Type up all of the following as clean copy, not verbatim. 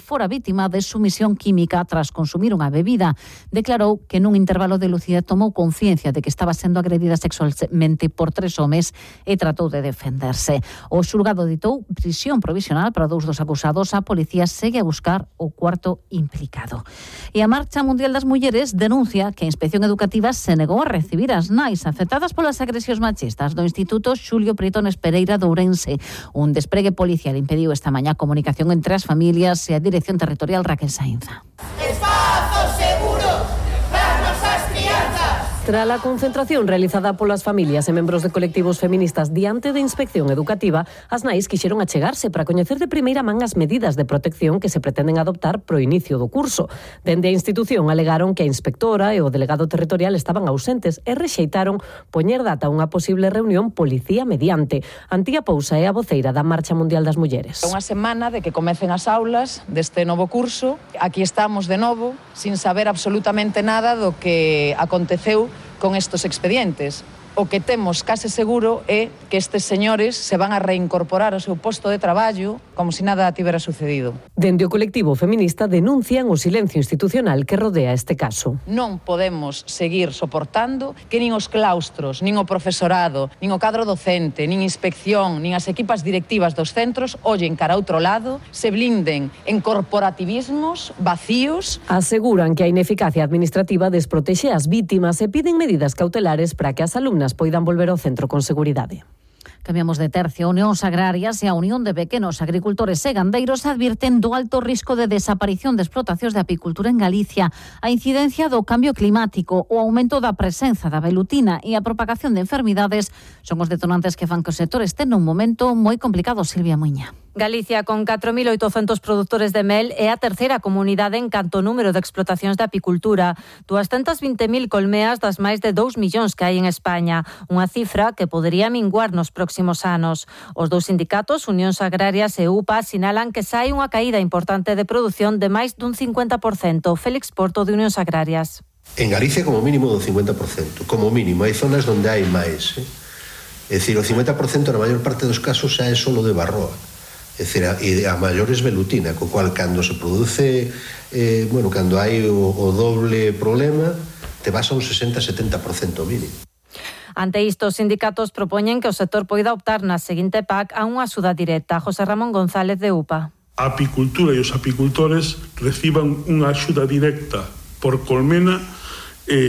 fora vítima de sumisión química tras consumir unha bebida. Declarou que nun intervalo de lucidez tomou conciencia de que estaba sendo agredida sexualmente por 3 homes e tratou de defenderse. O xulgado ditou prisión provisional para 2 dos acusados. A policía segue a buscar o cuarto implicado. E a Marcha Mundial das Mulleres denuncia que a Inspección Educativa se negou a recibir as nais afectadas polas agresións machistas do Instituto Xulio Pritones Pereira de Ourense. Un despregue policial impediu esta mañá a comunicación entre as familias e a Dirección Territorial Raquel Sainza. Espazo seguro para as nosas crianzas. Tras a concentración realizada polas familias e membros de colectivos feministas diante da Inspección Educativa, as nais quixeron achegarse para coñecer de primeira man as medidas de protección que se pretenden adoptar pro inicio do curso. Dende a institución alegaron que a inspectora e o delegado territorial estaban ausentes e rexeitaron poñer data a unha posible reunión policía mediante. Antía Pousa é a voceira da Marcha Mundial das Mulleres. Unha semana de que comecen as aulas deste novo curso. Aquí estamos de novo, sin saber absolutamente nada do que aconteceu con estos expedientes. O que temos case seguro é que estes señores se van a reincorporar ao seu posto de traballo como se nada tivera sucedido. Dende o colectivo feminista denuncian o silencio institucional que rodea este caso. Non podemos seguir soportando que nin os claustros, nin o profesorado, nin o cadro docente, nin inspección, nin as equipas directivas dos centros ollen cara a outro lado, se blinden en corporativismos vacíos. Aseguran que a ineficacia administrativa desprotexe as vítimas e piden medidas cautelares para que as alumnas poidan volver ao centro con seguridade. Cambiamos de tercio. Unións Agrarias e a Unión de Pequenos Agricultores e Gandeiros advirten do alto risco de desaparición de explotacións de apicultura en Galicia, a incidencia do cambio climático, o aumento da presenza da velutina e a propagación de enfermidades son os detonantes que fan que o sector este nun momento moi complicado. Silvia Muiña. Galicia, con 4.800 produtores de mel, é a terceira comunidade en canto número de explotacións de apicultura. 220.000 colmeas das máis de 2 millóns que hai en España, unha cifra que podería minguar nos próximos anos. Os dous sindicatos, Unións Agrarias e UPA, sinalan que sai unha caída importante de produción de máis dun 50%. Félix Porto, de Unións Agrarias. En Galicia como mínimo do 50%, como mínimo. Hai zonas onde hai máis. É dicir, o 50% na maior parte dos casos xa é solo de barroa. É dicir, a maiores velutina, co cual cando se produce, cando hai o doble problema, te vas a un 60-70% mínimo. Ante isto, os sindicatos propoñen que o sector poida optar na seguinte PAC a unha axuda directa. José Ramón González, de UPA. A apicultura e os apicultores reciban unha axuda directa por colmena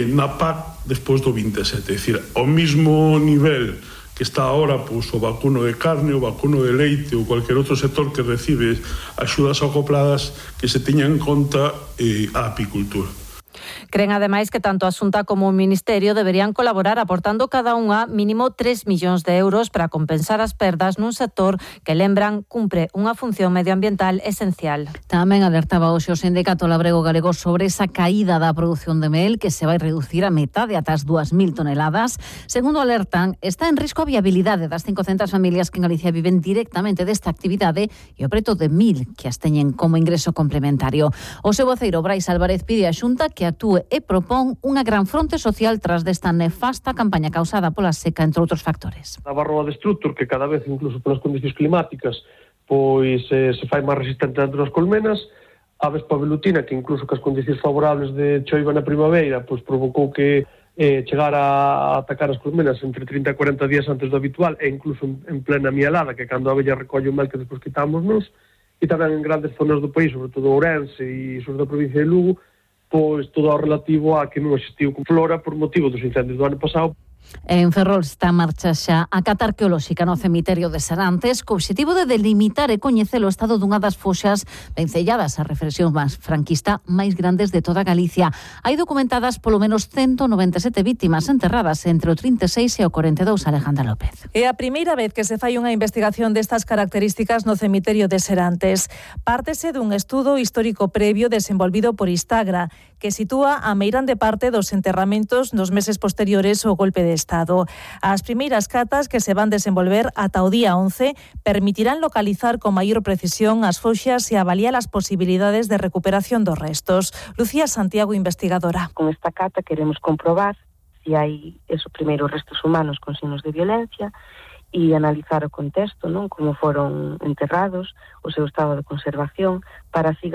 na PAC despois do 27. É dicir, ao mesmo nivel que está ahora pois, o vacuno de carne, o vacuno de leite ou cualquier outro sector que recibe axudas acopladas, que se teñan en conta a apicultura. Creen ademais que tanto a Xunta como o Ministerio deberían colaborar aportando cada unha mínimo 3 millóns de euros para compensar as perdas nun sector que, lembran, cumpre unha función medioambiental esencial. Tamén alertaba hoxe o Sindicato Labrego Galego sobre esa caída da produción de mel que se vai reducir a metade ata as 2.000 toneladas. Segundo alertan, está en risco a viabilidade das 500 familias que en Galicia viven directamente desta actividade e o preto de 1.000 que as teñen como ingreso complementario. O seu voceiro Brais Álvarez pide á Xunta que actúe e propón unha gran fronte social tras desta nefasta campaña causada pola seca, entre outros factores. A barroa de estructur, que cada vez, incluso polas condicións climáticas, pois se fai máis resistente dentro das colmenas, a vespa velutina, que incluso que as condicións favorables de choiva na primavera, pois provocou que chegar a atacar as colmenas entre 30 e 40 días antes do habitual, e incluso en plena mielada, que cando a abella recolle o mel que despois quitámonos, e tamén en grandes zonas do país, sobre todo Ourense e sur da provincia de Lugo, pois todo o relativo a que non existiu con flora por motivo dos incendios do ano pasado. En Ferrol está en marcha xa a cata arqueolóxica no cemiterio de Serantes co obxectivo de delimitar e coñecer o estado dunha das foxas vencelladas a reflexión máis franquista máis grandes de toda Galicia. Hai documentadas polo menos 197 vítimas enterradas entre o 36 e o 42, Alejandra López. É a primeira vez que se fai unha investigación destas características no cemiterio de Serantes. Pártese dun estudo histórico previo desenvolvido por Istagra, que sitúa a meirande parte dos enterramentos nos meses posteriores ao golpe de Estado. As primeiras catas que se van desenvolver ata o día 11 permitirán localizar con maior precisión as foxas e avaliar as posibilidades de recuperación dos restos. Lucía Santiago, investigadora. Con esta cata queremos comprobar se hai esos primeiros restos humanos con signos de violencia e analizar o contexto, non, como foron enterrados, o seu estado de conservación, para así